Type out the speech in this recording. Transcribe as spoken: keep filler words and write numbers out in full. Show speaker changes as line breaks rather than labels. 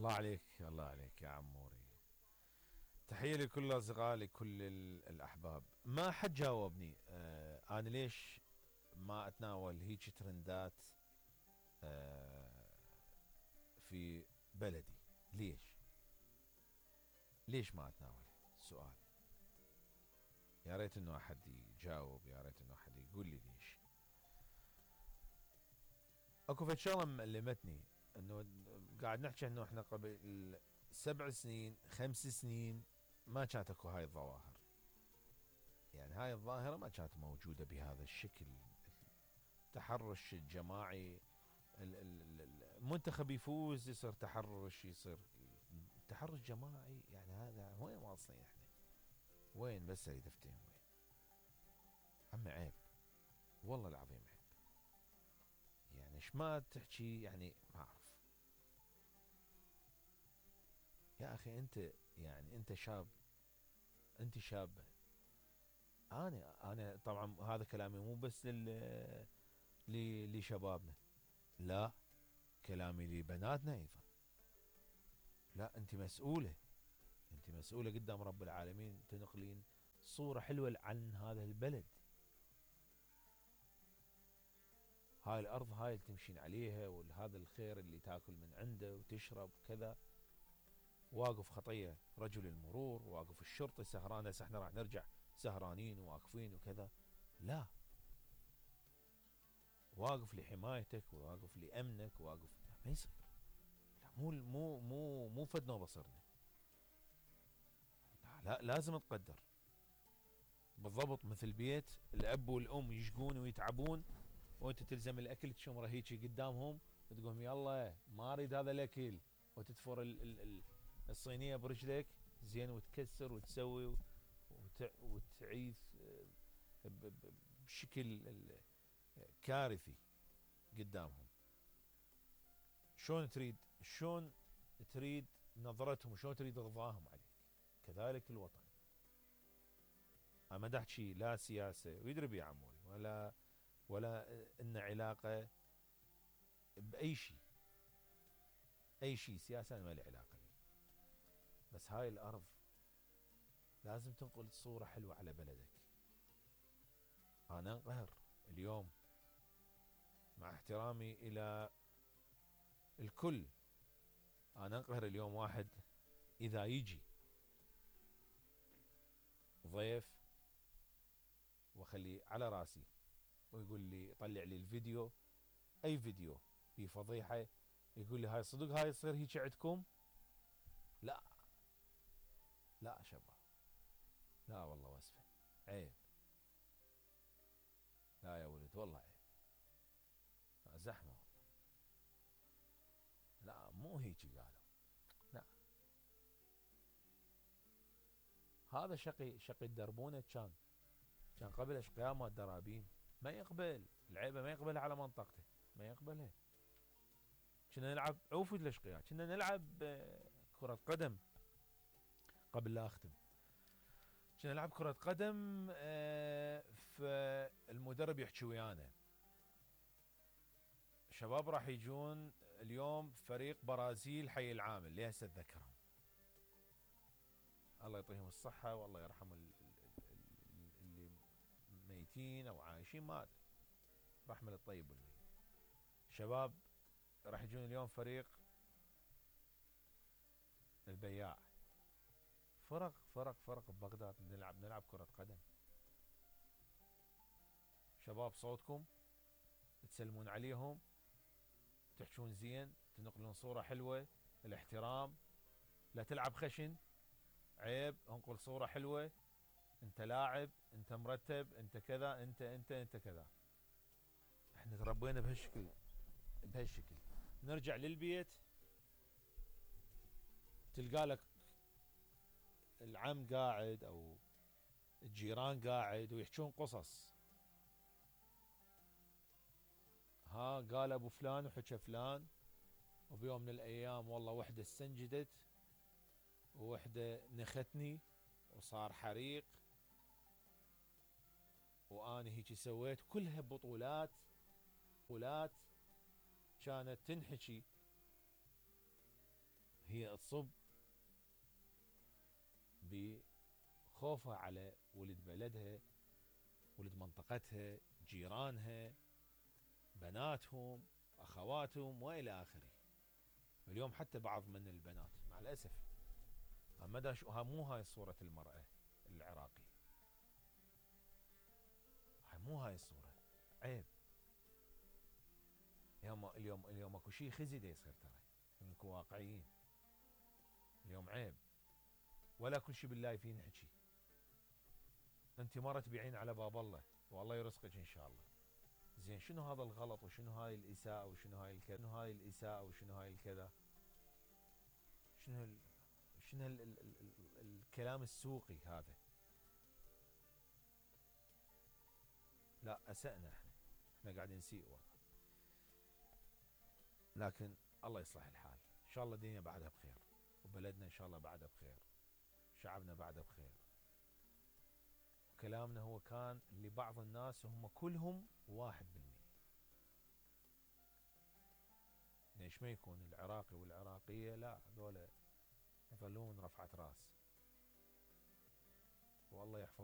الله عليك الله عليك يا عموري. تحية لكل الأصدقاء لكل الأحباب. ما حد جاوبني آه أنا ليش ما أتناول هيك ترندات آه في بلدي. ليش ليش ما أتناول سؤال. يا ريت انه احد يجاوب، يا ريت انه احد يقول لي ليش. اكو فد شغله مألمتني، انه قاعد نحكي انه احنا قبل سبع سنين خمس سنين ما كانت اكو هاي الظواهر. يعني هاي الظاهره ما كانت موجوده بهذا الشكل. التحرش الجماعي، المنتخب يفوز يصير تحرش، يصير تحرش جماعي. يعني هذا وين واصلين احنا؟ وين بس اريد افتهم وين؟ عمي عيب، والله العظيم عيب. يعني ايش ما تحكي، يعني ما اعرف. يا اخي انت يعني انت شاب، انت شابه. انا انا طبعا هذا كلامي مو بس لل لشبابنا، لا، كلامي لبناتنا ايضا. لا، انت مسؤوله، انت مسؤوله قدام رب العالمين تنقلين صوره حلوه عن هذا البلد. هاي الارض هاي اللي تمشين عليها، وهذا الخير اللي تاكل من عنده وتشرب كذا. واقف خطيه رجل المرور، واقف الشرطه سهران. هسه احنا راح نرجع سهرانين وواقفين وكذا. لا، واقف لحمايتك، واقف لامنك، واقف. لا، ما يصير. لا، مو مو مو مو فدنا بصرنا. لا, لا لازم تقدر. بالضبط مثل بيت الاب والام يشقون ويتعبون، وانت تلزم الاكل تشمره هيجي قدامهم وتقول يلا ما اريد هذا الاكل، وتدفر ال ال ال الصينيه برجلك زين وتكسر وتسوي وت وتعيث بشكل كارثي قدامهم. شلون تريد شلون تريد نظرتهم، شلون تريد رضاهم عليك؟ كذلك الوطن. انا ما احكي لا سياسه، ويدري بي عموري، ولا ولا ان علاقه باي شيء. اي شيء سياسه انا ما لي علاقه بيه. بس هاي الارض لازم تنقل صوره حلوه على بلدك. انا انقهر اليوم، مع احترامي الى الكل، انا انقهر اليوم واحد اذا يجي ضيف واخليه على راسي ويقول لي طلع لي الفيديو، اي فيديو في فضيحه، يقول لي هاي صدق هاي تصير هيك عندكم؟ لا لا شباب، لا والله واسفه، عيب. لا يا ولد والله عيب، زحمه والله. لا مو هيك قالوا، لا. هذا شقي شقي الدربونه كان كان قبل اشقياء ما الدرابين. ما يقبل العيبه، ما يقبلها على منطقته، ما يقبلها. كنا نلعب عوفي الاشقياء، كنا نلعب كرة قدم قبل لا اختم. كنا نلعب كرة قدم، فالمدرب يحكي ويانا شباب راح يجون اليوم فريق برازيل حي العامل، اللي هسه اتذكرهم، الله يعطيهم الصحة والله يرحم اللي ميتين او عايشين، ما ادري، رحمة للطيب والميت. شباب راح يجون اليوم فريق البياع. فرق فرق فرق ببغداد نلعب نلعب كرة قدم. شباب صوتكم تسلمون عليهم، تحشون زين، تنقلون صورة حلوة، الاحترام، لا تلعب خشن، عيب، انقل صورة حلوة، انت لاعب، انت مرتب، انت كذا، انت انت انت كذا. احنا تربينا بهالشكل بهالشكل. نرجع للبيت تلقى لك العم قاعد او الجيران قاعد ويحكون قصص. ها قال ابو فلان وحكى فلان، وبيوم من الايام والله وحده استنجدت، ووحده نختني، وصار حريق، واني هيك سويت. كلها بطولات بطولات كانت تنحكي هي تصب بخوفها على ولد بلدها، ولد منطقتها، جيرانها، بناتهم، اخواتهم والى اخره. اليوم حتى بعض من البنات مع الاسف مدى شو مو هاي صورة المرأة العراقية، هاي مو هاي الصورة، عيب. اليوم اليوم اليوم اكو شيء خزي دا يصير، ترى نكون واقعيين. اليوم عيب، ولا كل شيء باللايفين نحكي. انت مرة تبيعين على باب الله والله يرزقك ان شاء الله. زين شنو هذا الغلط وشنو هاي الاساءة وشنو هاي الكذا، شنو هاي الاساءة وشنو هاي الكذا، شنو ال... شنو ال... ال... ال... ال... الكلام السوقي هذا؟ لا اسأنا احنا، احنا قاعدين نسيء والله. لكن الله يصلح الحال، ان شاء الله الدنيا بعدها بخير، وبلدنا ان شاء الله بعدها بخير، شعبنا بعدها بخير. وكلامنا هو كان لبعض الناس هم كلهم واحد بالمية. ليش ما يكون العراقي والعراقية لا هذولا يظلون رفعة راس، والله يحفظ